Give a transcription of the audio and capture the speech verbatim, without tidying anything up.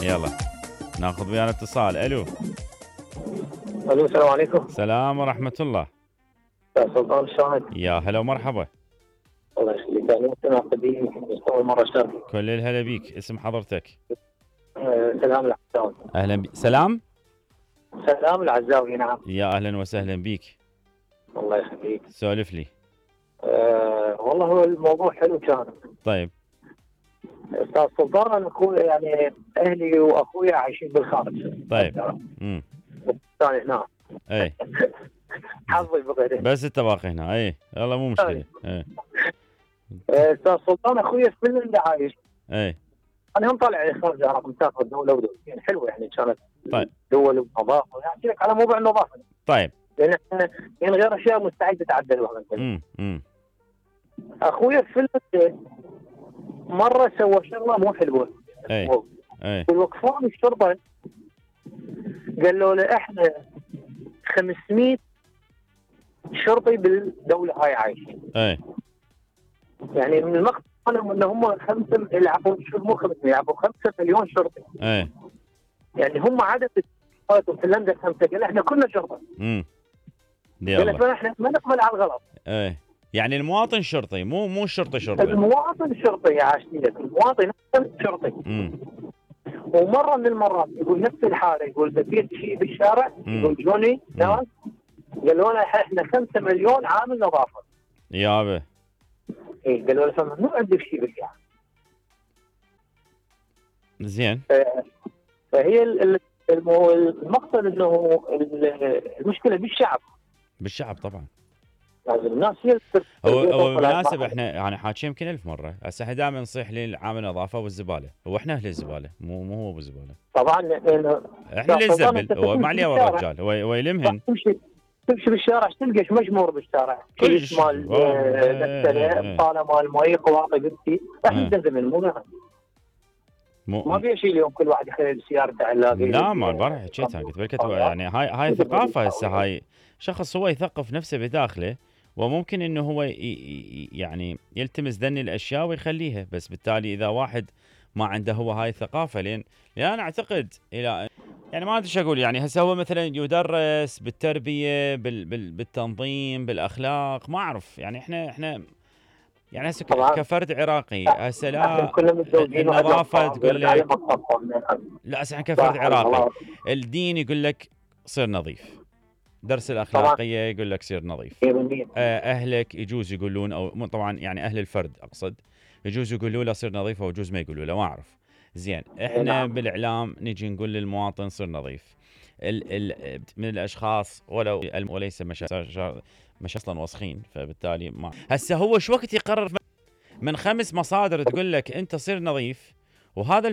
يلا ناخذ ويانا اتصال. الو الو السلام عليكم. السلام ورحمة الله. يا سلطان شلونك؟ يا هلا ومرحبا. الله يخليك، انا مستمع قديم بس اول مره اشترك. كل الهلا بيك، اسم حضرتك؟ أه سلام العزاوي. اهلا بي. سلام سلام العزاوي. نعم. يا اهلا وسهلا بيك. الله يخليك. سولف لي. أه والله هو الموضوع حلو كان. طيب استاذ سلطان، انا اخوي يعني اهلي واخويا عايشين بالخارج. طيب. امم ثاني هنا. اي حظي بغيره. بس انت باقي هنا. اي يلا مو مشكلة. اي استاذ سلطان، اخويا في فنلندا عايش. اي انا هم طالع خارج العراق، مسافر دوله ودولتين حلوه يعني كانت. طيب دول ونظافه، احكي لك على موضوع النظافه. طيب. لان احنا يعني غير اشياء مستعد تتعدل. امم امم اخويا في فنلندا مره سوى شغله مو حلوه. اي اي وقفوا الشرطه قالوا له احنا خمسمئة شرطي بالدوله هاي عايشين. اي يعني من المقصد ان هم خمسه يلعبوا مو خمسمئة يلعبوا خمسة مليون شرطي. اي يعني هم عدد في فنلندا خمسه، قال احنا كلنا شرطه. امم قال احنا ما نقبل على الغلط. اي يعني المواطن شرطي، مو مو الشرطي شرطي. المواطن شرطي يا عاشتي لك، المواطن شرطي. امم ومره من المرات يقول نفس الحاله، يقول بقيت شيء بالشارع، يقول جوني ناس قالوا لنا احنا خمسة مليون عامل نظافه. يابا اي قالوا له ممنوع عندك شيء بالشارع. زين. فهي المقصد انه المشكله بالشعب. بالشعب طبعا. لازم الناس هي هو هو بالمناسبة احنا يعني حاكيين يمكن ألف مرة، هسه احنا دائما نصيح للعامل النظافة والزبالة، هو احنا أهل الزبالة مو مو هو بالزبالة. طبعا احنا اللي نزبل، هو ما عليه الرجال، هو هو يلمهن. تمشي تمشي بالشارع تلقى ايش مجمور بالشارع، كيس مال غسالة، بطالة مال مي، قواطع قلتي، احنا نزبل مو مو ما في شيء اليوم كل واحد يخلي سيارته علاقه. لا ما البارح حكيت انا قلت لك يعني هاي هاي ثقافة هسه، هاي شخص هو يثقف نفسه بداخله، وممكن انه هو يعني يلتمس ذني الاشياء ويخليها، بس بالتالي اذا واحد ما عنده هو هاي الثقافه، لين لان انا اعتقد الى يعني ما ادري ايش اقول، يعني هسه هو مثلا يدرس بالتربيه بال بال بالتنظيم بالاخلاق، ما اعرف يعني احنا احنا يعني هسه كفرد عراقي هسه لا النظافه تقول لك لا، هسه احنا كفرد عراقي الدين يقول لك صير نظيف، درس الاخلاقيه يقول لك سير نظيف، اهلك يجوز يقولون او طبعا يعني اهل الفرد اقصد يجوز يقولوا له صير نظيف ويجوز ما يقولوا له، ما اعرف. زين احنا بالاعلام نجي نقول للمواطن صير نظيف، ال ال من الاشخاص ولو وليس مش مش اصلا وسخين، فبالتالي ما هسه هو شو وقت يقرر من خمس مصادر تقول لك انت صير نظيف، وهذا